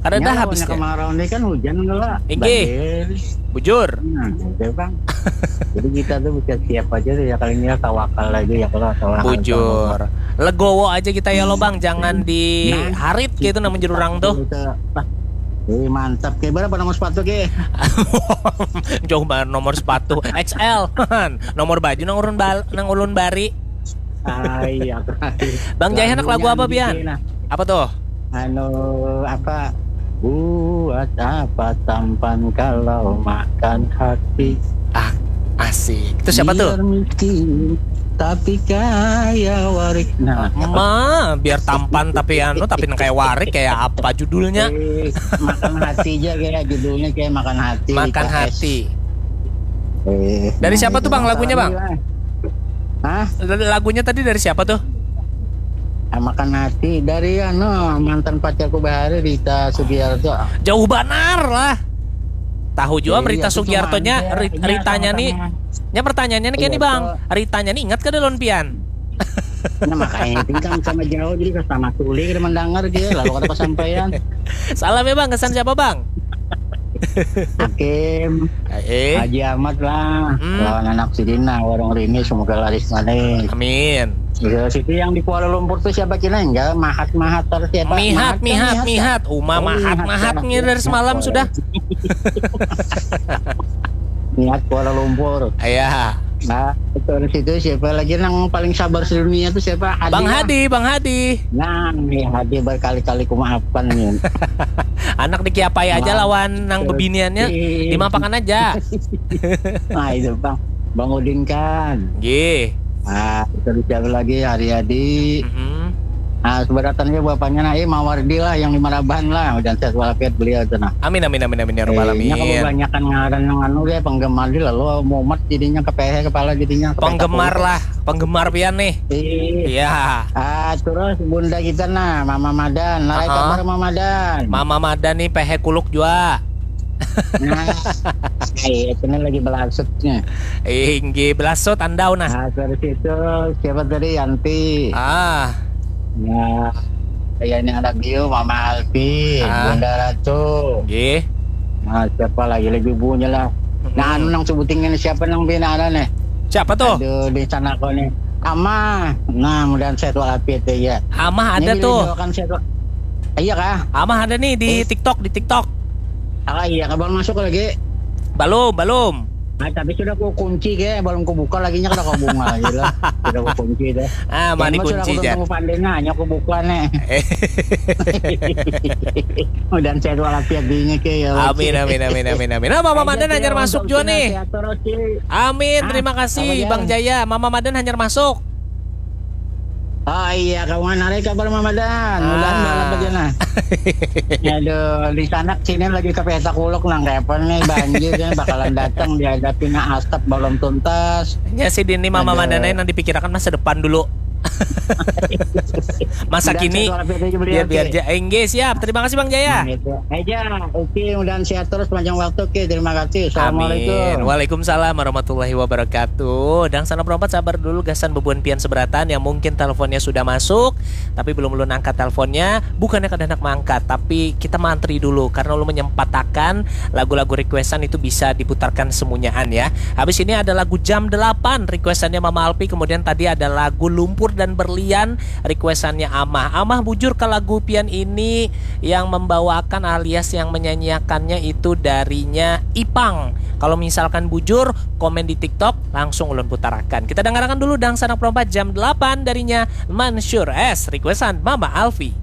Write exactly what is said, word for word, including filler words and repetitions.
Kada ada habisnya. Kemarau ni kan hujan lah. Inggih. Bujur. Nah, gitu, Bang. Jadi kita tuh bisa siap aja tuh ya, kali ini ya, tawakal aja ya kalau salah. Bujur. Legowo aja kita ya lo, Bang, jangan diharit gitu namanya orang tuh. Wih, mantap. Ke berapa nomor sepatu ke? Jauh banget nomor sepatu. X L. Nomor baju nang ulun bal nang ulun bari. Ah, iya. Bang Jaya, anak lagu apa, Pian? Apa tuh? Anu, apa? Buat apa tampan kalau makan hati? Ah, asik. Itu siapa tuh? Biar miskin, tapi kaya warik. Nah, ma, biar tampan tapi anu, tapi nang kayak warik, kayak apa judulnya? Eh, makan hati aja, kayak judulnya kayak makan hati. Makan hati. Eh, dari siapa tuh, Bang, lagunya, Bang? Hah? Lagunya tadi dari siapa tuh? Ah, makan hati dari anu, mantan pacarku bahari, Rita Sugiarto. Jauh banar lah. Tahu juga Rita Sugiartonya, Ritanya nih. Nya pertanyaannya nih, Bang. Ritanya nih ingat kada lawan pian? Nah, makanya itu kan sama jauh, jadi sama tuli kada mendengar dia, lalu kada kesampaian. Salam ya, Bang, kesan siapa, Bang? Hakim, eh, Haji Ahmad lah, hmm, lawan anak sidina warung Rini, semoga laris manis. Amin. Iya, situ yang di Kuala Lumpur tuh siapa kira, enggak, Mahat Mahat atau siapa? Mihat, Mihat, Mihat. Uma, oh, Mahat, Mahat nih dari semalam sudah. Mihat Kuala Lumpur. Iya. Nah, terus itu siapa lagi yang paling sabar sedunia tuh siapa? Bang Hadi, Bang Hadi. Nah, nih Hadi berkali-kali kumaafkan nih. Anak dikiapai aja lawan nang bebiniannya, dimapakan aja. Nah, itu Bang, Bang Udin kan. Gih. Ah, terus siapa lagi? Haryadi. Mm-hmm. Nah, seberatannya bapaknya nah, eh, Mawardi lah yang di Marabahan lah, dan sehat walafiat beliau itu nah. Amin, amin, amin, amin ya rabbal alamin. Eh, kebanyakan ngaran yang anu ya, penggemar di lalu mumet jadinya, kepehe kepala jadinya. Penggemar lah, penggemar pian nih. Iya. Ah, terus bunda kita nah, Mama Madan. Narai kabar Mama Madan. Mama Madan nih pehe kuluk jua. Nah, iya, itu nih lagi belasutnya. Inggih, belasut andau nah. Nah, terus itu siapa tadi, Yanti? Ah. Nah, ya ini anak Gio, Mama Alfi, ah, Bunda Ratu. Nggih. Nah, siapa lagi, lagi ibunya lah. Nah, anu nang sebuting ini siapa nang bina ada nih? Siapa tuh? Aduh, di sana kau nih. Amah. Nah, mudahan sehat walafiat ya. Amah ada tuh. Iya kah? Amah ada nih di TikTok, di TikTok. Ah, iya, kabar masuk lagi? Belum, belum. Ah, tapi sudah ku kunci ke, belum ku buka lagi nya, kada ku bunga aja lah. Sudah ku kunci deh. Ah, mani kunci aja. Aku pandai nanya, aku buka nih. Mudahan sehat walafiat dinya ke ya. Amin, amin, amin, amin, amin. Nah, Mama Madan hanyar masuk jua nih. Amin, terima kasih Bang Jaya. Mama Madan hanyar masuk. Oh iya, kawan, hari kabar Mama Dan. Mudahan balap aja nah. Aduh, di sana sini lagi ke peta kuluk nang kayak apa nih, banjir kan bakalan datang, dihadapi nah asap belum tuntas. Ya si Dini Mama Madan nang dipikirkan masa depan dulu. Masa kini biar biar aja. Enggak, siap. Terima kasih Bang Jaya. Aja, oke, mudahan sehat terus panjang waktu. Oke, terima kasih. Assalamualaikum. Amin. Waalaikumsalam warahmatullahi wabarakatuh. Dang sana perompat sabar dulu gasan bebuan pian seberatan yang mungkin teleponnya sudah masuk tapi belum ulun angkat teleponnya. Bukannya kada hendak mengangkat, tapi kita mantri dulu karena ulun menyempatakan lagu-lagu requestan itu bisa diputarkan semunyaan ya. Habis ini ada lagu Jam delapan requestannya Mama Alpi, kemudian tadi ada lagu Lumpur dan Berlian requestannya Amah. Amah, bujur ke lagu pian ini yang membawakan alias yang menyanyiakannya itu darinya Ipang. Kalau misalkan bujur, komen di TikTok, langsung ulun putarakan. Kita dengarkan dulu Dangsanak Perompat Jam delapan darinya Mansur S, requestan Mama Alfi.